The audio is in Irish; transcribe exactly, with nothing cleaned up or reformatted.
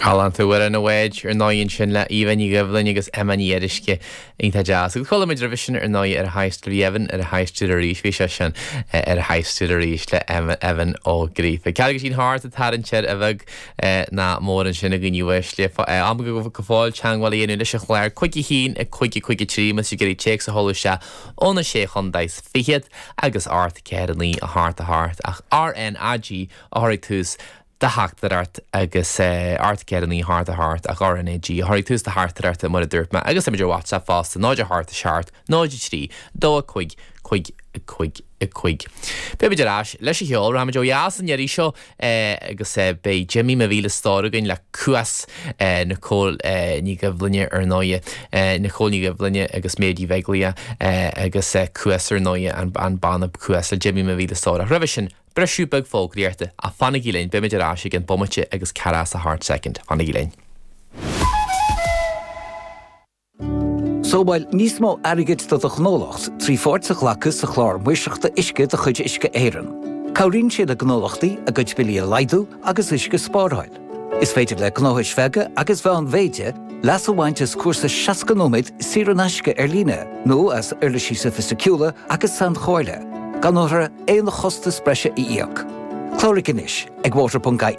Galánta Ar an Bhád ar ndóigh ansin le Eva Ní Ghoibhlin agus Emma Ní Fhíoruisce iontach deas. Agus chuala muid roimhe sin ar ndóigh ar a haistear Evan ar a haistear arís bhí sé sin ar a haistear arís le Evan Ó Gríofa. Ceathracha thart a tarraingt a bheag ná mór ansin a dhaoine uaisle am go fóill teagmháil a dhéanamh leis an chlár cúig a haon a cúig a cúig a trí más ag iarraidh téacs a sheoladh isteach óna sé chontae is fichead agus ocht ceathair naoi a hocht a hocht ach RNAG a chur ag tús do theachtaireacht agus ocht ceathair naoi hocht a hocht ach RNAG a chur ag tús do theachtaireacht mar a dúirt mé agus ar WhatsApp fosta náid a hocht a seacht náid a trí dó a cúig cúig cúig cúig. Beimid ar ais leis an cheol rachaimid ó dheas an iarraidh seo agus beidh Jimmy mo mhíle stór againn le Cuas Nicole Ní Ghoibhlinne ar ndóigh Nicole Ní Ghoibhlinne agus Méidí Bheaglia agus Cuas ar ndóigh an banna Cuas le Jimmy mo mhíle stór. Roimhe sin briseadh beag fógraíochta ach fanaigí linn beimid ar ais ag an bomaite agus ceathracha a hocht soicind fanaigí linn. Sábháil níos mó airgid do do ghnólacht trí pháirt a ghlacadh sa chlár maoirseachta uisce de chuid Uisce Éireann. Cabhraíonn sé le gnólachtaí a gcuid billí a laghdú agus uisce a spáráil. Is féidir le gnóthais bheaga agus mheánmhéide leas a bhaint as cúrsa seasca nóiméad saor in aisce ar líne nó as uirlisí soifisticiúla agus sainchomhairle, gan orthu aon chostas breise a íoc. Cláraigh anois ag water.ie.